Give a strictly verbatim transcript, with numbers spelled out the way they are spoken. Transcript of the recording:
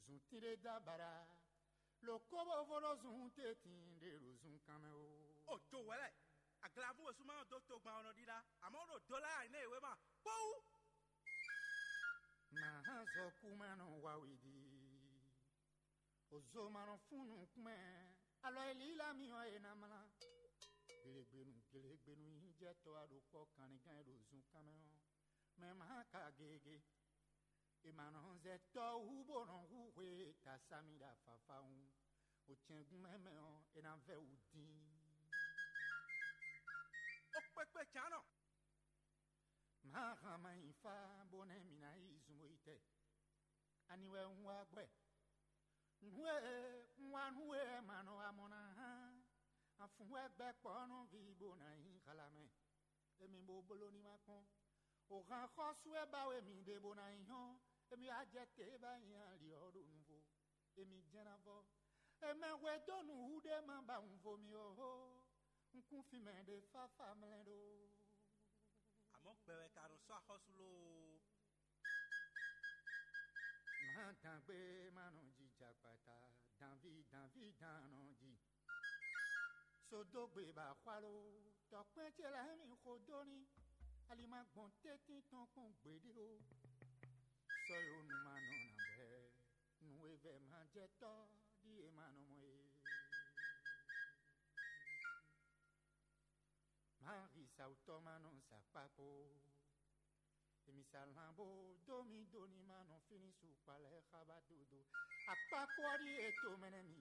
Zun tínɖé dó abǎɖá, lǒ kó bó vo ɖó zun tɛ́ntin ɖé ɖo zunkan mɛ ó. O jo hwɛlɛ, aglavú wesúma ɔ́ dó togban ɔ́ nɔ ɖíɖá, amɔ̌ ɖo dó lá ayǐ wé ma kpɔ́wú. Mǎ hán zɔkú ma nɔ wa wěɖi, ozo ma nɔ fún nukún mɛ, alɔ e lílá mi ɔ́ e ná mlá. Gelegbenu gelegbenu nyí jɛ tɔ́ wá ɖo kpɔ́ kanlingán e ɖo zunkan mɛ ɔ́, mɛ ma ka gege. È ma nɔ zɛ tɔ́ hú bó nɔ hú hwe ta sami ɖo afafawun. O cɛngún mɛ mɛ ɔ́, è nǎ vɛ wǔ dín. Ó kpékpé cǎnɔ. Má han ma nyi fá bó nɛ́ mǐ ná yi zun bó yi tɛ. Ani wɛ un wá gbɛ? Nǔ e un wá nú we wɛ ma nɔ wá mɔ ná hán. Afun wɛ gbɛ kpɔ́ nɔ ví bó ná nyí xalamɛ. Emi bo bló ní ma kpɔ́n. O han xɔ́sú e ba we mi ɖe bó ná nyí hɔn. Emi wá jɛ te ba nyi ali ɔ́ ɖo nuvo. Emi jɛ́n ná vɔ. Emɛ hwedó nǔ hú ɖé ma ba wunvo mi ó hó. Un kún fin mɛ ɖé fáfá mlɛ́ ɖó. Àmọ́ gbɛ wɛ ka nɔ sɔ́ axɔ́sú lóó. Má dǎngbé má nɔ ji jakpata, dǎnví dǎnví dǎn nɔ ji. Sodógbe ba xwalo, tɔkpɛn ce lɛ́ɛ mi xo dó ní, ali ma gbɔn tɛ́ntin tɔn kpɔn gbeɖé ó. Sɔ́ yó nu ma nɔ nǎ bwɛ, nǔ e vɛ ma jɛ tɔ́ ɖíe ma nɔ mɔ é. Má hi sawutɔ́ ma nɔ sa kpákpó. Emi sa lan bó dó mi dó ní ma nɔ fínní su kpa lɛ́ɛ xá ba dódó. Akpákpó ɔ́ ɖíe to mɛ nɛ́ mi